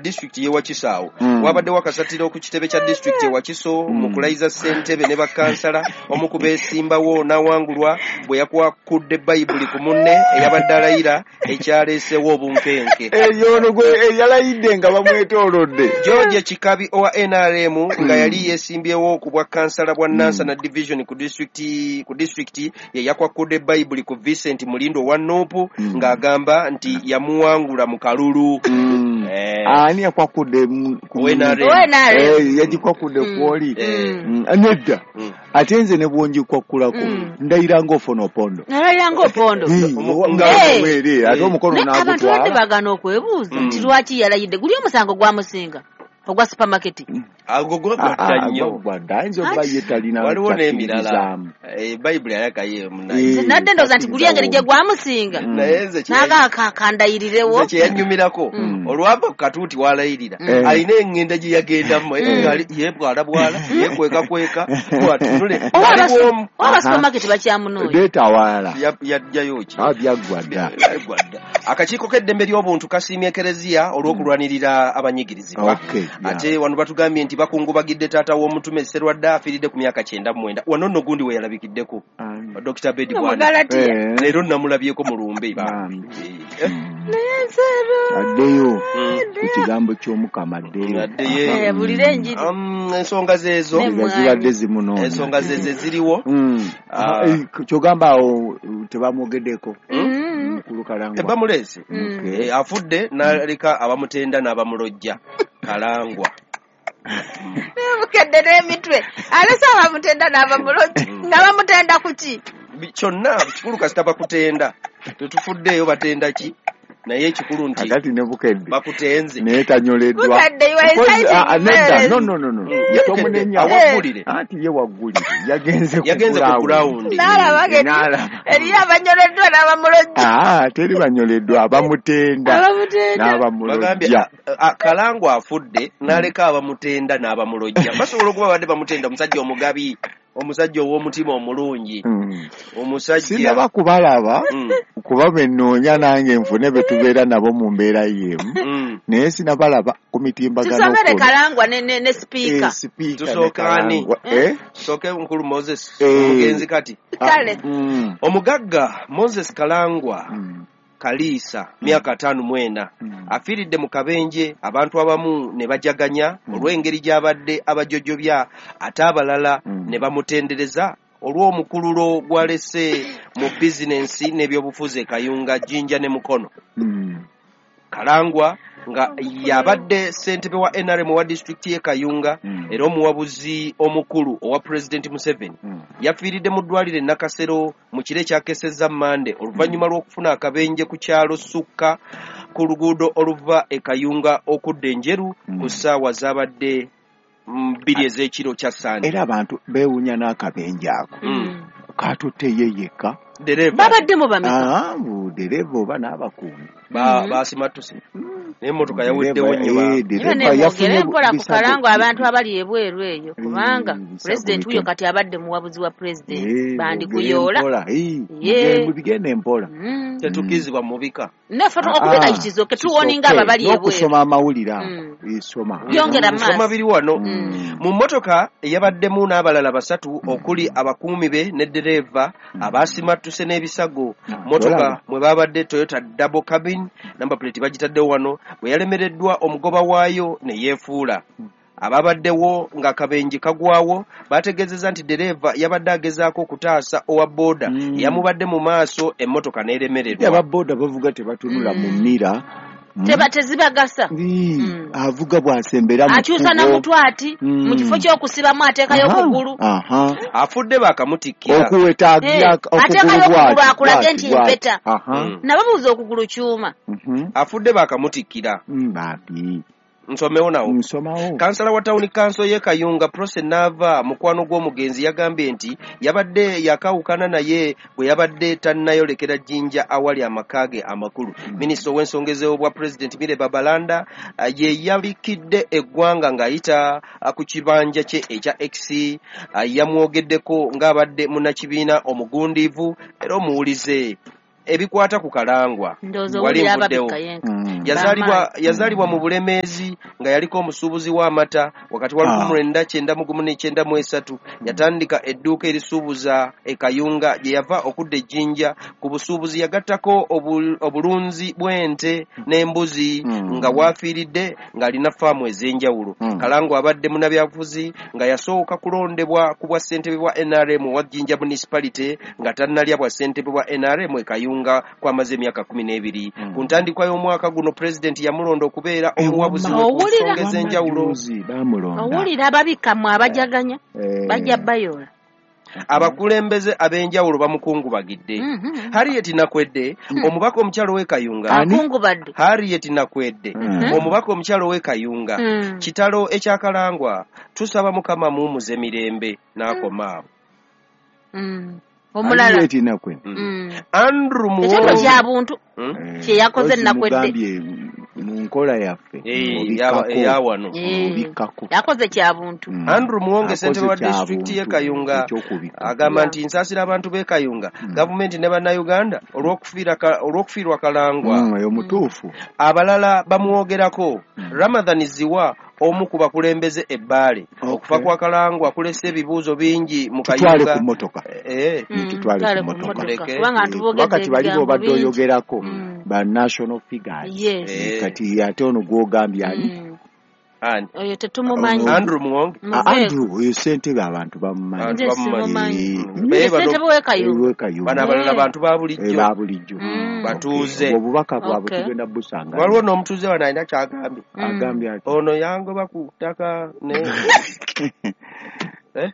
Disitulikiti y'e Wakiso awo wabaddewo akasatiro ku kitebe kya disitulikiti e Wakiso mu kulayiza ssentebe ne bakansala. Omu ku beesimbawo n'awangulwa bwe yakwakudde Bayibuli ku munne eyabadde alayira, ekyaleesewo obunkenke. Eyo gwe eyalayidde nga bamwetoolodde. George Kikabi owa NRM nga yali yeesimbyewo ku bwa kansala bwa Nansana Division ku disitulikiti ye yakwakudde Bayibuli ku Vincent Mulindo owa NUP ng'agamba nti yamuwangula mu kalulu. Ani yakwakudde ku Owa NRM. Owa NRM. Yagikwakudde kwoli. Nedda. Ate nze ne bwongikwakulako ndayira nga Ofwono Opondo. Nalayira nga Opondo. Ate omukono Naye abantu badde n'agutwala. bagaana okwebuuza nti lwaki yalayidde. Guli omusango gwamusinga ogwa supermarket. Ago gwagwadda nnyo. Gwagwadda, ayinza okuba ye talina Waliwo n'emirala. kyakkiririzaamu. Bayibuli ayakayo munaye. Nadde ndowooza nti guli engeri gye gwamusinga Naye nze naga kandayirirewo. Nze kyeyanyumirako, olwava ku katuuti walayirira, alina eŋŋenda gye yagendamu yebwala bwala, yekwekakweka bwatunule aliwomu. Oba supermarket bakyamunoonya. Leeta awalala. Yajjayo ki? Ah, byaggwa dda. Byaggwa dda. Akakiiko k'eddembe ly'obuntu kasiimye Ekereziya olw'okulwanirira abanyigirizibwa. Ate wano batugambye nti bakungubagidde taata w'omutume Serwadda, afiiridde ku myaka 99. Wano nno gundi we yalabikiddeko, Dr. Bedi Bwana. Omugalatiya. Leero namulabyeko mu lumbe. Bambi. Naye nseero. Addeyo ku kigambo ky'Omukama, addeyo. Addeyo. Abulire enjiri. Ensonga zeezo. Ne Nga zibadde zimunoonya. Ensonga zeze ziriwo. Ah. Kyogamba awo tebamwogeddeko, mukulu Kalangwa? Tebamuleese. Okay. Afudde n'aleka abamutenda n'abamulojja, Kalangwa. Bukedde n'emitwe, alese abamutenda n'abamulojja. Nga bamutenda ku ki? Kyonna kikulu kasita bakutenda, tetufuddeeyo batenda ki, naye ekikulu nti Kakati ne Bukedde bakutenze. Naye tanyoleddwa. Bukedde, you are Because, inciting ah, ah, nedda, violence. no, no, no, no. Bukedde, Tomunenya. awaggulire. Anti ye waggulire yagenze ku Yagenze ku ground. ground. N'alaba ng'eri- N'alaba. Eriyo abanyoleddwa n'abamulojja. Ah, teri banyoleddwa, abamutenda Abamutenda. Bagambye n'abamulojja. Kalangwa afudde n'aleka abamutenda n'abamulojja. Basobola okuba badde bamutenda omusajja omugabi, omusajja ow'omutima omulungi, omusajja Sinaba kubalaba kuba benoonya nange nfune be tubeera nabo mu mbeera y'emu, naye sinabalaba ku mitimbagano. Tusomere kuno. Kalangwa ne sipiika. Sipiika ne Tusooka ani? Kalangwa. Eh? Sooke mukulu Moses, omugenzi kati. Kale. Omugagga Moses Kalangwa Kaliisa, myaka 54, afiiridde mu kabenje, abantu abamu ne bajaganya olw'engeri gy'abadde abajojobya, ate abalala ne bamutendereza olw'omukululo gw'alese mu bizinensi n'ebyobufuzi e Kayunga, Jjinja ne Mukono. Kalangwa nga yabadde ssentebe wa NRM owa disitulikiti y'e Kayunga era omuwabuzi omukulu owa Pulezidenti Museveni, yafiiridde mu ddwaliro e Nakasero mu kiro ekyakesezza Mande oluvannyuma lw'okufuna akabenje ku kyalo Sukka ku luguudo oluva e Kayunga okudda Enjeru ku ssaawa zabadde 2 ez'ekiro kya Sande. Era abantu beewuunya n'akabenje ako katutte ye yekka. Dereva. Babaddemu bameka? Ah, bu dereva oba n'abakuumi. Basimattuse naye emmotoka yaweddewo nnyo. Era Dereva nemwogere yafunye mpola ku bisago. Kalangwa, abantu abali ebweru eyo, kubanga bisago pulezidenti wuyo bitono. kati abadde muwabuzi wa pulezidenti, bandikuyoola. Mwogere mpola. Bigende mpola. Tetukkirizibwa mubika. Naffe Ah, okubika ah, kikizoke tuwoninga abo abali ebweru. N'okusoma amawulire ago. Soma. Byongera Soma maaso. biri wano. Mu mmotoka eyabaddemu n'abalala basatu okuli abakuumi be ne ddereeva abaasimattuse n'ebisago. Mmotoka Olaba. mwe babadde Toyota double cabin, number plate bagitaddewo wano, bwe yalemereddwa omugoba waayo ne yeefuula. Ababaddewo ng'akabenje kagwawo bategeezezza nti ddereeva yabadde agezaako okutaasa owa booda eyamubadde mu maaso, emmotoka n'eremererwa. Ababoda bavuga tebatunula mu mirror. Teba tezibagasa. Avuga bw'asembera mu Akyusa kkubo. namutwe ati mu kifo ky'okusibamu ateekayo okugulu. Afudde bakamutikkira. Okuweta Ateekayo okugulu okugulu bw'ati, akulage bw'ati, nti bw'ati. mpeta. Nababuuza okugulu kyuma. Afudde bakamutikkira. Bambi. Nsomewo nawo. Nsomawo. Kansala wa tawuni kanso y'e Kayunga, Prose Naava, mukwano gw'omugenzi, yagambye nti yabadde yakawukana naye bwe yabadde tannayolekera Jjinja awali amaka ge amakulu. Minisita ow'ensonga ez'obwa pulezidenti Milly Babalanda ye yabikidde eggwanga ng'ayita ku kibanja kye ekya X, yamwogeddeko ng'abadde munnakibiina omugundiivu era omuwulize. Ebikwata ku Kalangwa Ndowooza wali owulira nvuddewo. ababikka yenka. Yazaalibwa mu Bulemeezi nga yaliko omusuubuzi w'amata wakati wa 1991-93. Yatandika edduuka erisuubuza e Kayunga gye yava okudda e Jjinja. Ku busuubuzi yagattako obulunzi bw'ente n'embuzi nga waafiiridde ng'alina faamu ez'enjawulo. Kalangwa abadde munnabyabufuzi nga yasooka kulondebwa ku bwa ssentebe bwa NRM owa Jjinja Municipality nga tannalya bwa ssentebe bwa NRM e Kayunga kwamaze emyaka 12. Ku ntandikwa y'omwaka guno pulezidenti yamulonda okubeera omuwabuzi we ku nsonga ez'enjawulo. Owulira ababikkamu abajaganya bajja bayola. Abakulembeze ab'enjawulo bamukungubagidde. Harriet Nakwedde, omubaka omukyalo w'e Kayunga. Harriet Nakwedde, omubaka omukyalo w'e Kayunga. Kitalo ekyakalangwa, tusaba Mukama muumuze mirembe n'akoma awo. Omulala Andrew Muwonge kyabuntu kye yakoze Nakwedde mu nkola yaffe eyawano yakoze kyabuntu. Andrew Muwonge ssentebe wa disitulikiti y'e Kayunga agamba nti nsaasira abantu b'e Kayunga, gavumenti ne bannayuganda olw'okufiirwa Kalangwa. Oyo mutuufu. Abalala bamwogerako. Ramadhan Ziwa omu ku bakulembeze e Bbaale. Okufa kwa Kalangwa kulese ebibuuzo bingi mu Kayunga. Tutwale ku mmotoka. Tutwale ku mmotoka. Kati bali b'obadde oyogerako ba national figures. Kati ate ono gw'ogambye ani? Oyo tetumumanyi. Andrew Muwonge. Andrew oyo ssentebe abantu bamumanyi. Ssentebe w'e Kayunga. Bano abalala bantu ba bulijjo. Batuuze. Obubaka bwabwe tugenda busanga. Waliwo n'omutuuze wano alina ky'agambye. Agambye ati ono yangoba ku ttaka ne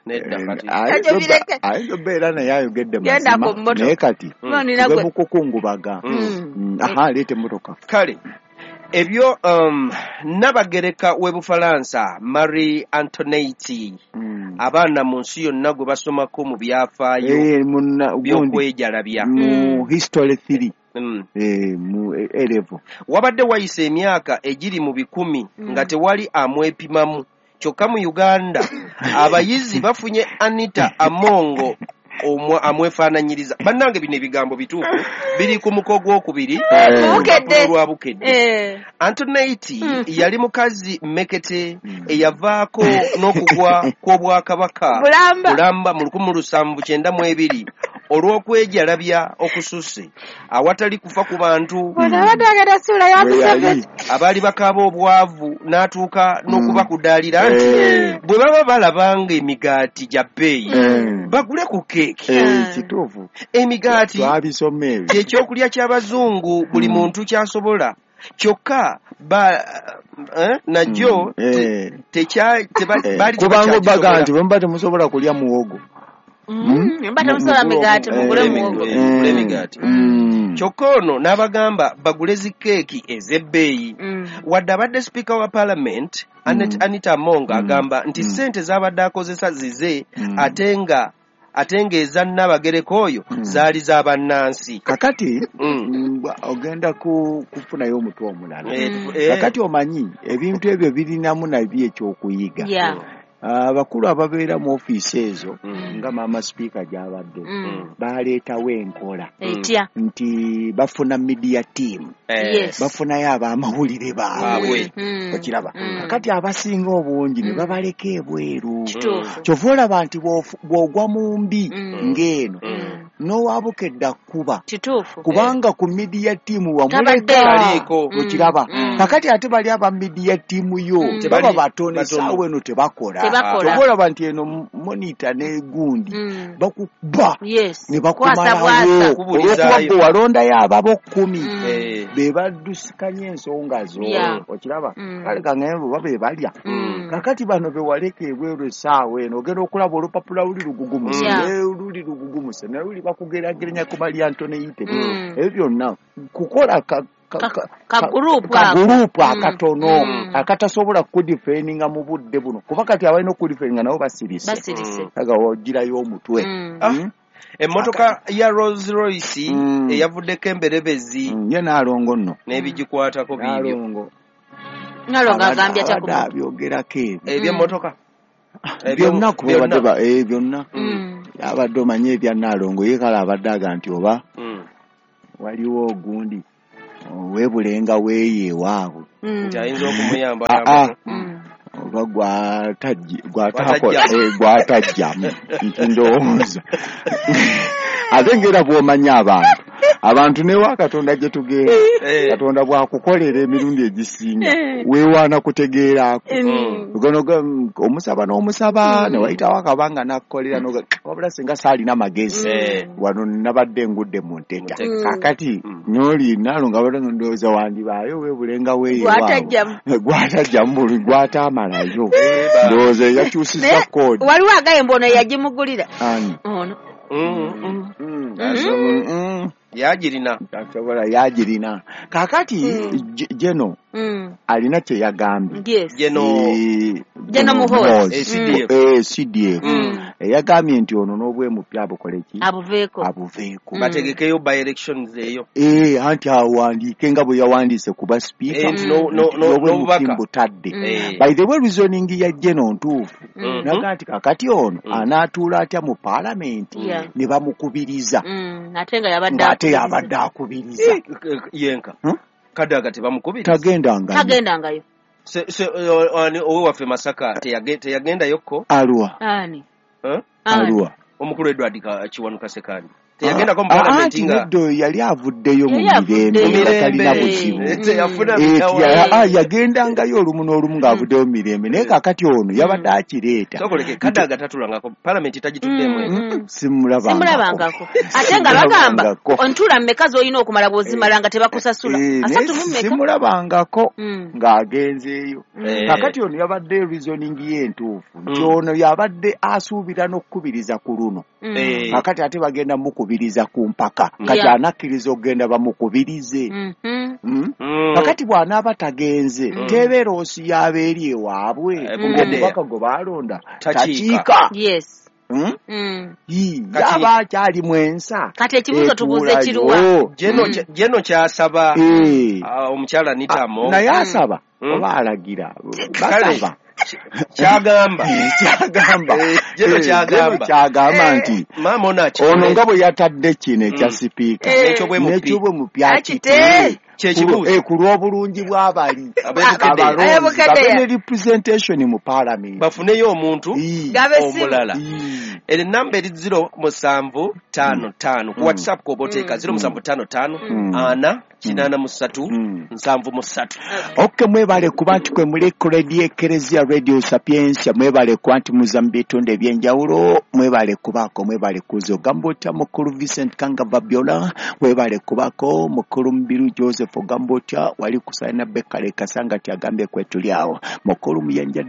nedda kati. Ayinza obeera naye ayogedde mazima naye kati tube mu kukungubaga. Aha, leeta emmotoka. Kale ebyo Nnabagereka w'e Bufalansa Marie Antoinette abaana mu nsi yonna gwe basomako mu byafaayo by'okwejalabya mu history 3 mu A-level. Wabadde wayise emyaka egiri mu 100 nga tewali amwepimamu. Kyokka mu Uganda abayizi bafunye Anita Amongo amwefaananyiriza. Bannange bino ebigambo bituufu biri ku muko gwokubiri lwa Bukedde. Antoinette yali mukazi mmekete eyavaako n'okugwa kw'obwakabaka Bulamba mu 1792 olw'okwejalabya okususse awatali kufa ku bantu abaali bakaaba obwavu n'atuuka n'okubakudaalira nti bwe baba balabanga emigaati gya bbeeyi bagule ku keeki. Kituufu. Emigaati kyekyokulya ky'abazungu buli muntu kyasobola kyokka najjo kubanga baga nti bwe muba temusobola kulya muwogo. Mba temusobola migaati mugule muwogo. Emigaati. Kyokka ono n'abagamba bagule zi keeki ez'ebbeeyi. Wadde abadde sipiika wa parliament Anita Among agamba nti ssente z'abadde akozesa zize ate nga eza Nnabagereka oyo zaali za bannansi. Kakati ogenda kufunayo omutwe omulala. Kakati omanyi ebintu ebyo birinamu nabyo ekyokuyiga. Abakulu ababeera mu ofiisi ezo nga maama sipiika gy'abadde baleetawo enkola nti bafuna media team, bafunayo ab'amawulire baabwe. Okiraba kakati abasinga obungi ne babaleka ebweru. Kyova olaba nti bw'ogwa mu mbi ng'eno n'owabukedde akkuba kubanga ku media team wamuleka. Okiraba kakati ate bali aba media team yo baba batono essaawa eno tebakola. Kyova olaba nti eno monitor n'egundi bakuba ne bakumalawo olw'okuba gwe walondayo ababo 10 be baddusikanya ensonga zo. Okiraba kale kangambe oba be balya. Kakati bano be waleka ebweru essaawa eno ogenda okulaba olupapula luli lugugumuse luli lugugumuse naye luli bakugeraageranya ku Marie Antoinette. Ebyo byonna kukola kagurupu akatono akatasobola kudifendinga mu budde buno kuba kati abalina okudifendinga nabo basirise aga ogirayo omutwe. Emmotoka ya Rolls Royce eyavuddeko emberebezi ye Naalongo nno n'ebigikwatako biibyo. Naalongo agambye atya ku abyogerako ebyo eby'emmotoka byonna kuba byonna abadde omanye ebya Naalongo ye kale abadde aga nti oba waliwo ogundi Weebulenga weeyo ewaabwe. Nti ayinza okumuyamba. Oba gwatajjamu nti ndowooza. Ate ng'era bw'omanya abantu newa Katonda gye tugenda, Katonda bw'akukolera emirundi egisinga weewaana kutegeerako. Omusaba n'omusaba ne wayitawo akabanga n'akukolera wabula singa saalina magezi wano nabadde ngudde mu nteta. Kaakati n'oli nalo nga bado ndowooza wandibaayo weebulenga weeyo gwatajjamu buli gwataamalayo. Ndowooza yakyusizza koodi. Waliwo agaye mbu ono yagimugulira. Ani? Ono. Yagirina. Tasobola yagirina. Kaakati Geno alina kye yagambye. Geno Muhoozi. CDF. Yagambye nti ono n'obwemupya abukole ki? Abuveeko. Bategekeyo by elections eyo. Anti awandiike nga bwe yawandiise kuba speaker. N'obubaka. Butadde. By the way, reasoning ya Geno ntuufu. Naga nti kaakati ono anaatuula atya mu paalamenti ne bamukubiriza. Ate nga yabadde akubiriza. Yenka. Kadaga tebamukubiriza. Tagendangayo. Owe waffe Masaka teyagendayokko. Aluwa. Ani? Aluwa. Omukulu Edward Kiwanuka Ssekandi. Teyagendako mu paalamenti nga neddo yali avuddeyo mu mirembe nga talina buzibu. Yagendangayo olumu n'olumu ng'avuddeyo mu mirembe naye kaakati ono yabadde akireeta. Sokoleke Kadaga tatulangako paalamenti tagituddemu. Simulabangako. Ate nga bagamba ontula mmeka z'olina okumala bw'ozimala nga tebakusasula. Asatu mu mmeka. Simulabangako ng'agenzeeyo. Kaakati ono yabadde reasoning ye entuufu nti ono yabadde asuubira n'okukubiriza ku luno. Kaakati ate bagenda mukubiriza ku mpaka. Kati anakkiriza okugenda bamukubirize. Kakati bw'anaaba tagenze tebeeroosi y'aba eri ewaabwe omubaka gwe baalonda takiika. Yes. Yaba akyali mwensa. Kati ekibuuzo tubuuze kiruwa? Geno kyasaba omukyala Nitamo. Naye asaba oba alagira basaba. Kyagamba. Kyagamba nti maama ono ono nga bwe yatadde kino ekya sipiika n'ekyobwemupya akite ku lw'obulungi bw'abali abalonzi babe ne representation mu paalamenti bafuneyo omuntu omulala. Eri namba eri 0755 ku WhatsApp kwoba oteeka 0755 4 83 73. Okay, mwebale kuba nti kwe muli ku Radio Ekereziya Radio Sapientia, mwebale kuba nti muza mu bitundu eby'enjawulo, mwebale kubaako, mwebale kuza. Ogamba otya mukulu Vincent Kanga Babiola, mwebale kubaako mukulu Mubiru Joseph, ogamba otya wali kusaina Bekale Kasanga ti agambye kwetuli awo, mukulu Muyanja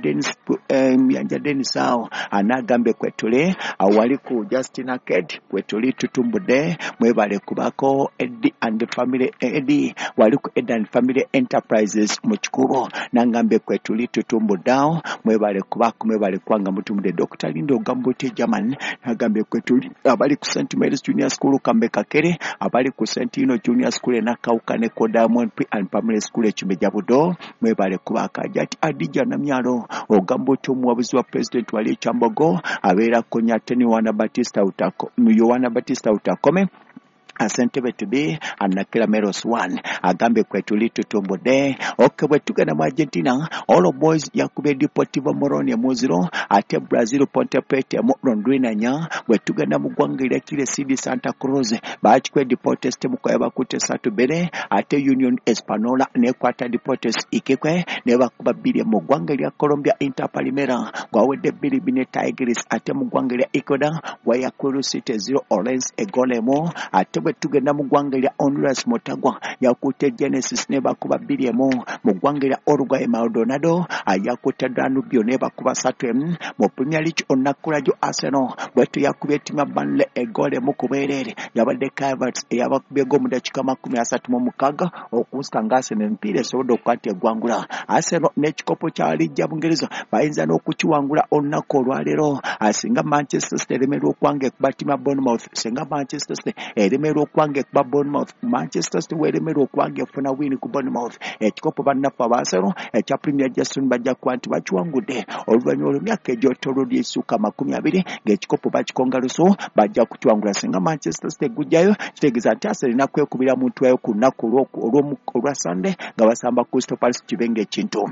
Dennis awo anagambye kwetuli awo, wali ku Justin Aked kwetuli tutumbudde, mwebale kubaako Eddie and family Eddie wali ku Eddie and Family Enterprises mu Kikubo nangambye kwetuli tutumbudde awo, mwebale kubaako, mwebale kwanga mutumbudde. Dr. Lindo ogamba otya German nagambye kwetuli abali ku St. Mary's Junior School Kambe Kakere, abali ku St. Ino Junior School e Nakawuka ne ko Diamond Pre and Primary School e Kimejja Budo, mwebale kubaako. Ajati Adija Namyalo ogamba otya omuwabuzi wa President wali e Kyambogo abeera Konyateni Yohana Batista Utakome Asentebe to be anakira Meros 1 agambe kwetuli tutumbudde. Okay, bwe tugenda mu Argentina, All Boys yakubye Deportivo Moroni muziro, ate Brazil Ponte Preta mu Londrina nya. Bwe tugenda mu ggwanga erya Chile CD Santa Cruz bakikwe Deportes Temukoya bakutte 3-2, ate Union Espanola nekwata Deportes Iquique ne bakuba 2. Mu ggwanga erya Colombia Inter Palmeiras gwawedde 2-2 ne Tigres, ate mu ggwanga erya Ecuador Guayaquil City 0 Orense egolemo, ate bwe tugenda mu ggwanga erya Honduras Motagua yakutte Genesis ne bakuba 2-1. Mu ggwanga erya Uruguay Maldonado yakutte Danubio ne bakuba 3-1. Mu Premier League olunaku lwajjo Arsenal bwetyo yakubye ttiimu ya Burnley eggoolo emu ku bwereere, yabadde Havertz eyabakubye ggo mu ddakiika 36 okusika nga Arsenal emipiira esobodde okuba nti eggwangula. Arsenal n'ekikopo kya liigi ya Bungereza bayinza n'okukiwangula olunaku olwaleero singa Manchester City eremerwa okwanga ekuba ttiimu ya Bournemouth, singa Manchester City eremerwa weeremerwa okuba nga ekuba Bournemouth, Manchester City weeremerwa okuba nga efuna win ku Bournemouth, ekikopo bannaffe aba Arsenal ekya Premier Jason bajja kuba nti bakiwangudde oluvannyuma lw'emyaka egy'ottolo ly'essuka 20 ng'ekikopo bakikonga lusu, bajja kukiwangula. Singa Manchester City egujjayo, kitegeeza nti Arsenal erina kwekubira muntu wayo ku lunaku olwa Sunday nga basamba Crystal Palace, kibe ng'ekintu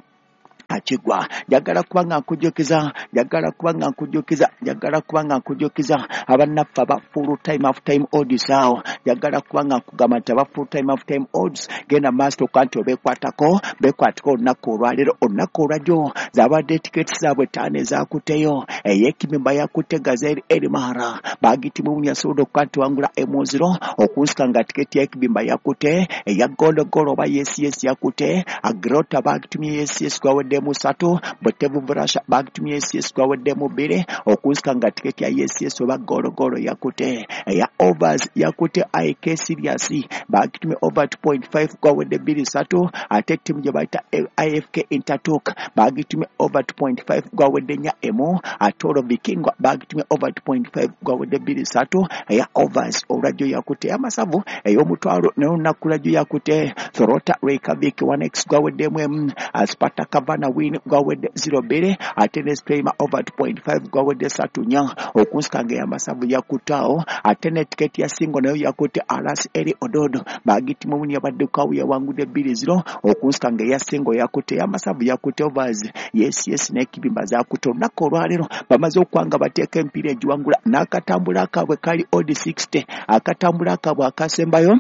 akigwa. Njagala kuba nga nkujjukiza, njagala kuba nga nkujjukiza, njagala kuba nga nkujjukiza abannaffe aba full time half time odds awo. Njagala kuba nga nkugamba nti aba full time half time odds, genda maaso okuba nti obeekwatako, beekwatako olunaku olwaleero. Olunaku olwajjo zabadde tiketi zaabwe 5 ezakutteyo. Ey'ekibimba yakutte Gazelle Elimara, bagitimu yasobodde okuba nti wangula 1-0, okunsika nga tiketi y'ekibimba yakutte. Eya gologolo oba yes yes yakutte Agrota, bagitumye yes yes gwaweddemu 3. Botevu Vrasha bagitumye yes yes gwaweddemu 2, okunsika nga tiketi ya yes yes oba gologolo yakutte. Eya overs yakutte IK Sirius, bagitumye over 2.5 gwawedde 2-3. Ate ttiimu gye bayita IFK Intertok bagitumye over 2.5 gwawedde 4-1. Ate olwo Vikingwa bagitumye over 2.5 gwawedde 2-3. Eya overs olwajjo yakutte. Ey'amasavu ey'omutwalo naye olunaku lwajjo yakutte Thorota Reykjavik 1x gwaweddemu 1, Sparta Kavana win gwawedde 0-2, ate ne Streamer over 2.5 gwawedde 3-4, okunsika nga ey'amasavu yakutte awo. Ate ne tiketi ya singo nayo yakutte Alas Eri Ododo, bagitimu muni yabadde kawu yawangudde 2-0, okunsika nga eya singo yakutte. Ey'amasavu yakutte, overs yes yes n'ekibimba zakutte. Olunaku olwaleero bamaze okuba nga bateeka emipiira egiwangula n'akatambula akaabwe kali odd 60. Akatambula akaabwe akasembayo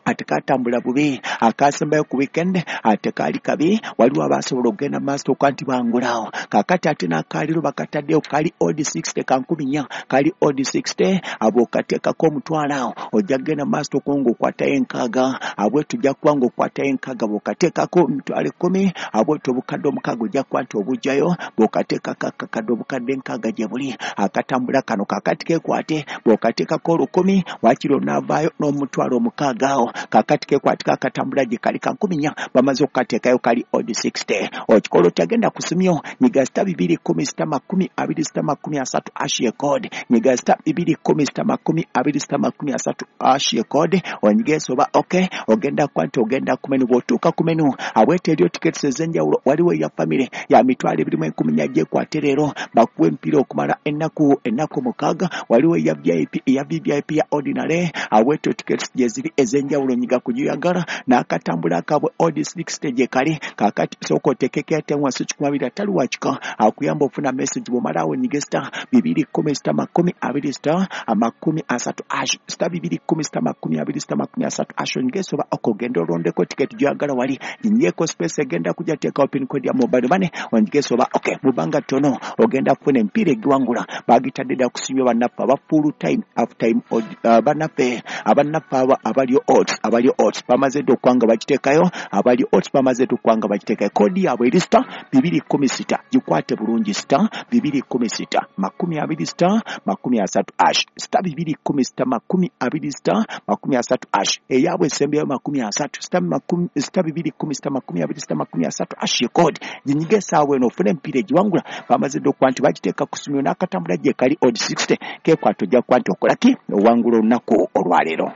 ate katambula bubi, akasembayo ku weekend ate kaali kabi, waliwo abasobola okugenda maaso okuba nti bangulaawo. Kaakati ate n'akaaliro bakataddeyo kali odd 60 ka 4,000, kali odd 60. Abo okateekako omutwalo awo, ojja kugenda maaso okuba ng'okwatayo 60, abwetu ojja kuba ng'okwatayo 60. Bw'okateekako 100,000, abwetu obukadde 6 ojja kuba nti obugjayo. Bw'okateekako akakadde obukadde 60 gye buli akatambula kano. Kaakati keekwate, bw'okateekako 1,000 waakiri onaavaayo n'omutwalo 6 awo. Kaakati keekwatiko akatambula gye kali ka 4,000, bamaze okukateekayo kali odd 60. Okikola otya? Ku simyo nyiga *210 *20 *30 hash ye code. Nyiga *210 *20 *30 hash ye code, onyige oba okay. Ogenda kuba nti ogenda ku menu. Bw'otuuka ku menu abwete eriyo tickets ez'enjawulo. Waliwo eya family ya 24,000, gyekwate leero bakuwa emipiira okumala ennaku 6. Waliwo eya VIP, eya VVIP, ya ordinary. Abwetyo tickets gye ziri ez'enjawulo, nyiga kugyoyagala n'akatambula akaabwe odd 60 gye kali. Kaakati sooka oteekeko airtime wansi 200, atali wakika akuyamba ofuna message. Bw'omala awo nyige *210 *20 *30 hash, *210 *20 *30 hash, onyige oba okugenda olondeko tiketi gy'oyagala. Wali ginyeko space egenda kujja, teekawo pin code ya mobile money, onyige oba okay. Mu bbanga ttono ogenda kufuna emipiira egiwangula, bagitadde dda kusimya bannaffe aba full time half time bannaffe, abannaffe aba abalyo odds, abalyo odds bamaze dda okuba nga bagiteekayo. Abalyo odds bamaze dda okuba nga bagiteekayo. Code yaabwe eri *210, gikwate bulungi, *210 20 *30 hash, *210 20 *30 hash. Eyaabwe esembyeyo 30, *210 *20 *30 hash ye code. Ginyige essaawa eno ofune emipiira egiwangula, bamaze dda okuba nti bagiteeka ku simyo n'akatambula gye kali odd 60. Keekwate, ojja kuba nti okola ki, owangula olunaku olwaleero.